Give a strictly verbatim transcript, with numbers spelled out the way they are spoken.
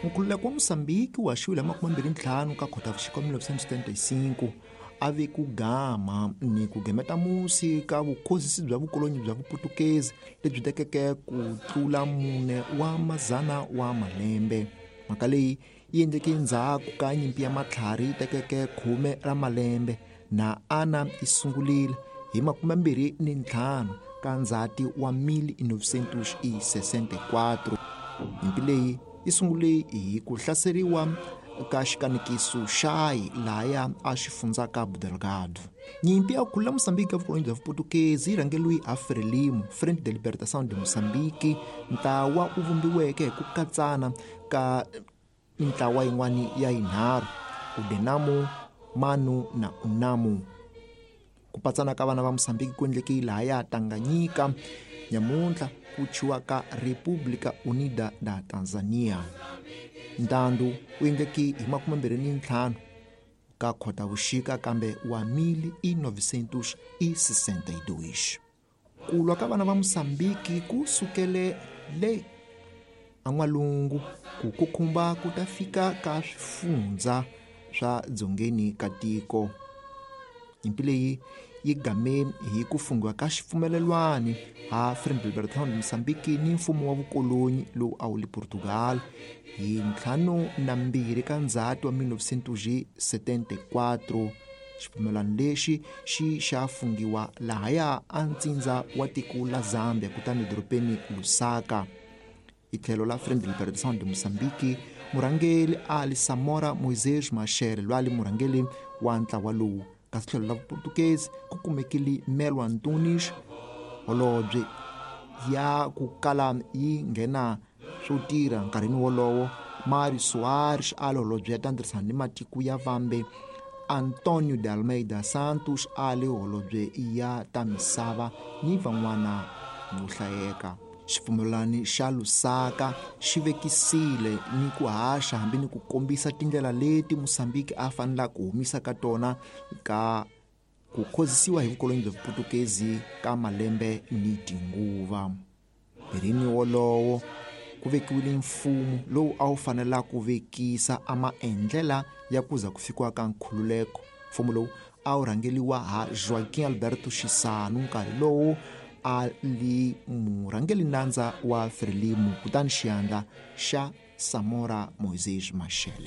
Nkhululeko wa Mosambiki wu haxiwile hi makume mbirhi ntlhanu ka Khotavuxika mille novecentos e setenta e cinco a vi ku gama ni ku gemeta musi ka vukhozisi bya vukolonyi bya Vuputukezi lebyi tekeke ku tlula mune wa mazana wa malembe. Mhaka leyi yi endleke endzhaku ka nyimpi ya matlhari yi tekeke khume ra malembe na ana yi sungurile hi makume mbirhi ni ntlhanu ka Ndzhati wa mille novecentos e sessenta e quatro. Nyimpi leyi yi sungule hi ku hlaseriwa ka xikanekiso xayi lahaya a xi fundza Cabo Delgado. Nyimpi ya ku khulula Mosambiki ya vukolonyi bya Vuputukezi yi rhangeriwe ha Frelimo, Frente de Libertação de Moçambique, ntlawa wu vumbiweke hi ku katsana ka mintlawa yin'wana ya yinharhu, Udenamu, Manu na Unamu. Ku patsana ka vana va Mosambiki ku endleke lahaya Tanganyika, nyamuntlha ku thyiwa ka República Unida da Tanzania. Ntandu wu endleke hi makume mbirhi ni ntlhanu ka Khotavuxika kambe wa mille novecentos e sessenta e dois. Ku lwa ka vana va Mosambiki ku sukele le an'walungu ku kukhumba ku ta fika ka swifundza swa dzongeni ka tiko. Nyimpi leyi yi game hi ku funghiwa ka xipfumelelwani ha Frente de Libertação de Moçambique ni mfumo wa vukolonyi lowu a wu le Portugal hi ntlhanu na mbirhi ka Ndzhati wa mille novecentos e setenta e quatro. Xipfumelwano lexi xi xa funghiwa lahaya a ntsindza wa tiko la Zambia kutani dorobeni Lusaka. Hi tlhelo la Frente de Libertação de Moçambique, murhangeri Ali Samora Moisés Machel loyi a li murhangeri wa ntlawa lowu. Kasi tlhelo la Vuportukezi ku kumekile Melo Antunes, holobye ya ku kala yi nghena swo tirha nkarhini wolowo, Mário Soares a li holobye ya ta ntirhisano ni matiko ya vambe, Antonio de Almeida Santos a li holobye ya ta misava ni van'wana vo hlayeka. Xipfumelwano xa Lusaka xi vekisile ni ku haxa hambi ni ku kombisa tindlela leti Mosambiki a fanelaka ku humisa ka tona ka ku khozisiwa hi vukolonyi bya Vuputukezi ka malembe ni tinguva. Mirini wolowo ku vekiwile mfumo lowu a wu fanela ku vekisa a maendlela ya ku za ku fikiwa ka nkhululeko. Mfumo lowu a wu rhangeriwa ha Joaquim Alberto Chissano nkarhi lowu a li murhangeri nandza wa Frelimo kutani xiyandla xa Samora Moisés Machel.